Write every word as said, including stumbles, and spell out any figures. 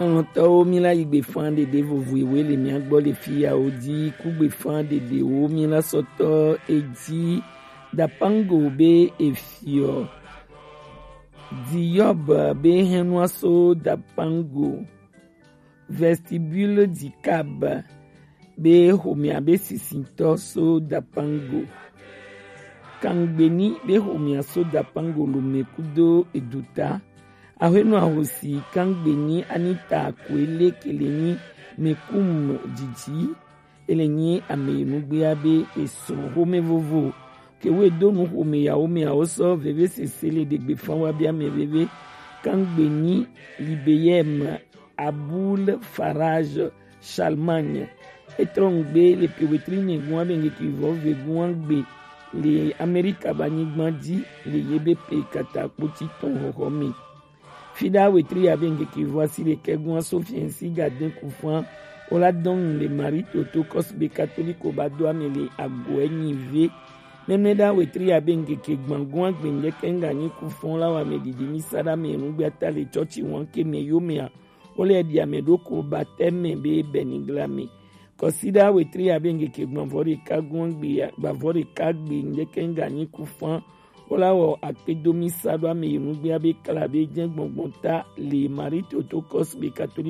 Lɔlɔ̃tɔwo, míla yi gbefan ɖeɖe vovo ewe le mía gbɔ le fiyawo dzi. Ku gbefan ɖeɖewo míla sɔtɔ edzi. Dapango be efiɔ. Diyɔb be hɛnua so Dapango. Vestibule Dikab be xomea be sisitɔ so Dapango. Kangbeni be xomea so Dapango Lome kudo eduta. Ahwenɔ ahosi Kangbeni Anita Koele ke le nyi Mekum Didi. Ele nyi ame yi nugbea be esrɔ̃ xome vovo ke wo do nu xome yawo me awo sɔ veve sese le ɖegbe fan wa be ame veve. Kangbeni Libeyem Abul Faraj Charlemagne. Etrɔ ŋugbe le pe wetri nyegun abe ŋkeke vɔ vegun agbe le Amerika ba nyigba dzi le ye be pe kata kpoti tɔn xɔxɔ me. Fida wetri abe ŋkeke vɔ asi le kɛgun aso fiɛnsi gaden kufan. Ola dɔn le Marie Toto kɔsube katoliko ba do ame le agoɛ nyi ve. Nɛnɛ da wetri abe ŋkeke gbangun agbe ŋdɛkɛ ŋga nyi kufan la wa me didi mi sa da me nugbe ata le tsɔtsi wan ke me yo mea. Wole ɖi ame ɖo ko batɛme be bɛnigla me. Kɔsiɖa wetri abe ŋkeke gbavɔ ɖeka gɔn gbe gbavɔ ɖeka gbe ŋdɛkɛ ŋga nyi kufan. Wola wɔ akpedomi sa ɖo ame yi nugbea be kla be jɛ gbɔngbɔn ta le Marie Toto Kɔsube Katoliko